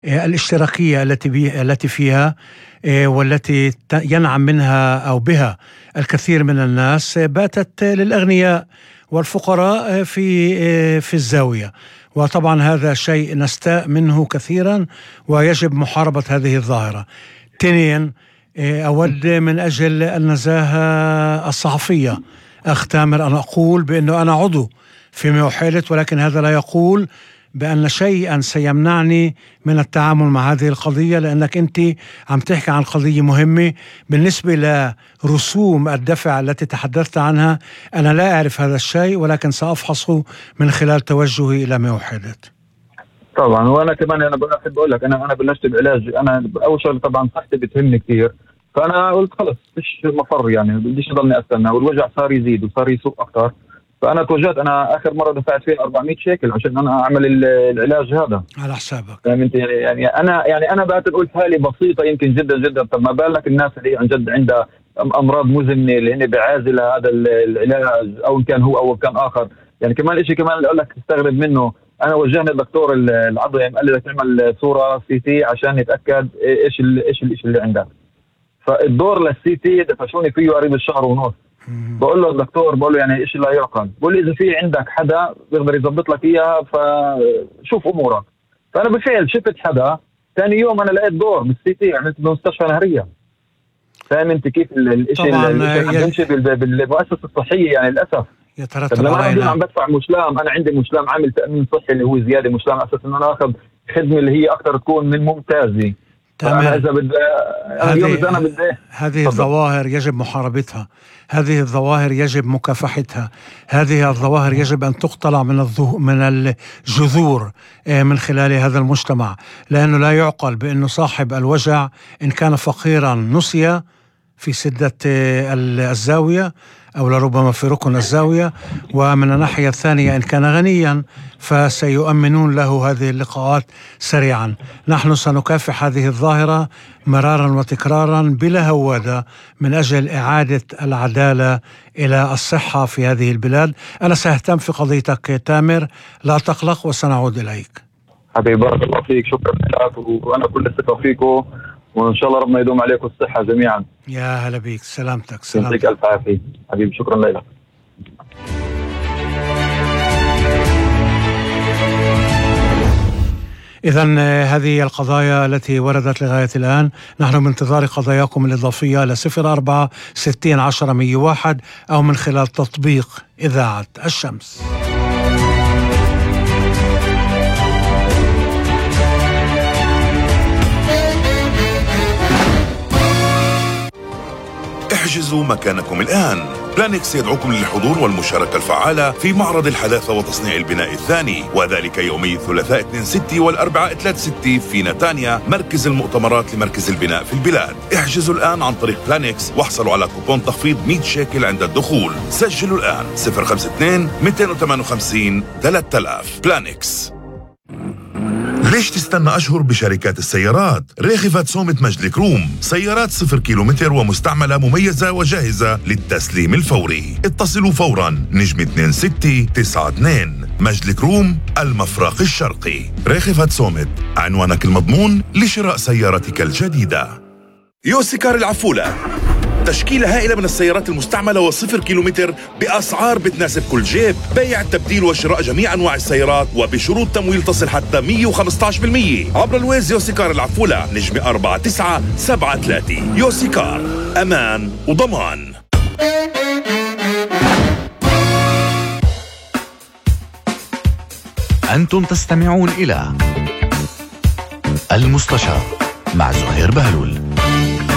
الاشتراكية التي فيها والتي ينعم منها أو بها الكثير من الناس باتت للأغنياء والفقراء في الزاوية. وطبعا هذا شيء نستاء منه كثيرا ويجب محاربة هذه الظاهرة. تنين، أود من أجل النزاهة الصحفية أخ تامر أن أقول بأنه أنا عضو في موحلة، ولكن هذا لا يقول بأن شيئا سيمنعني من التعامل مع هذه القضية، لأنك أنت عم تحكي عن قضية مهمة. بالنسبة لرسوم الدفع التي تحدثت عنها أنا لا أعرف هذا الشيء، ولكن سأفحصه من خلال توجهي إلى موحدة. طبعا وانا كمان انا بحب اقول لك انا بلشت بعلاج. انا اول شغله طبعا صحتي بتهمني كثير، فانا قلت خلص مش مفر يعني بديش اضلني استنى، والوجع صار يزيد وصار يسوء اكثر. فانا توجهت، انا اخر مره دفعت فيها 400 شيكل عشان انا اعمل العلاج هذا على حسابك. يعني انا بعتبر قلت حالي بسيطه يمكن جدا جدا، طب ما بالك الناس اللي عن جد عندها امراض مزمنه اللي هن بعازله هذا العلاج، او ان كان هو او كان اخر. يعني كمان شيء كمان اقول لك تستغرب منه، انا وجهني الدكتور العضوي قال لي تعمل صوره سي تي عشان يتاكد ايش الشيء اللي عندك. فالدور للسي تي دفشوني فيه قريب الشهر ونص. بقول له الدكتور، بقول له يعني ايش لا يعقل، بقول لي اذا في عندك حدا بيقدر يضبط لك اياها فشوف امورك. فانا بالفعل شفت حدا، ثاني يوم انا لقيت دور بالسي تي، عملت بمستشفى نهريه. فاهم انت كيف الشيء اللي بيمشي بالمؤسسه الصحيه يعني للاسف يترتب علينا. لما عم بدفع مشلام، انا عندي مشلام عامل تامين صحي اللي هو زياده مشلام اساس ان انا اخذ خدمه اللي هي اكثر تكون من ممتازه. هذه الظواهر يجب محاربتها، هذه الظواهر يجب مكافحتها، هذه الظواهر يجب أن تقتلع من الجذور من خلال هذا المجتمع، لأنه لا يعقل بأنه صاحب الوجع إن كان فقيرا نسي في سدة الزاوية أو لربما في ركن الزاوية، ومن الناحية الثانية إن كان غنيا فسيؤمنون له هذه اللقاءات سريعا. نحن سنكافح هذه الظاهرة مرارا وتكرارا بلا هوادة من أجل إعادة العدالة إلى الصحة في هذه البلاد. أنا سأهتم في قضيتك تامر، لا تقلق وسنعود إليك. حبيبي بارك الله فيك، شكرا لك، وأنا كل الثقة فيكم، وإن شاء الله ربنا يدوم عليكم الصحة جميعا. يا هلا بيك، سلامتك. يعطيك ألف عافية حبيبي، شكرا لك. إذن هذه القضايا التي وردت لغاية الآن. نحن بانتظار قضاياكم الإضافية ل 04 60 10 101 أو من خلال تطبيق إذاعة الشمس. احجزوا مكانكم الآن. بلانكس يدعوكم للحضور والمشاركة الفعالة في معرض الحداثة وتصنيع البناء الثاني، وذلك يومي الثلاثاء 2/6 والأربعاء 3/6 في نتانيا، مركز المؤتمرات لمركز البناء في البلاد. احجزوا الآن عن طريق بلانكس واحصلوا على كوبون تخفيض 100 شيكل عند الدخول. سجلوا الآن 052 258 3000. بلانكس. ليش تستنى أشهر بشركات السيارات؟ ريخفت سومت مجد كروم، سيارات 0 كيلومتر ومستعملة مميزة وجاهزة للتسليم الفوري. اتصلوا فورا نجم 2692. مجد كروم، المفرق الشرقي. ريخفت سومت، عنوانك المضمون لشراء سيارتك الجديدة. يوسيكار العفولة، تشكيلة هائلة من السيارات المستعملة وصفر كيلومتر بأسعار بتناسب كل جيب. بيع، تبديل وشراء جميع أنواع السيارات وبشروط تمويل تصل حتى 115% عبر الويز. يوسيكار العفولة، نجم 4973. يوسيكار، أمان وضمان. أنتم تستمعون إلى المستشار مع زهير بهلول.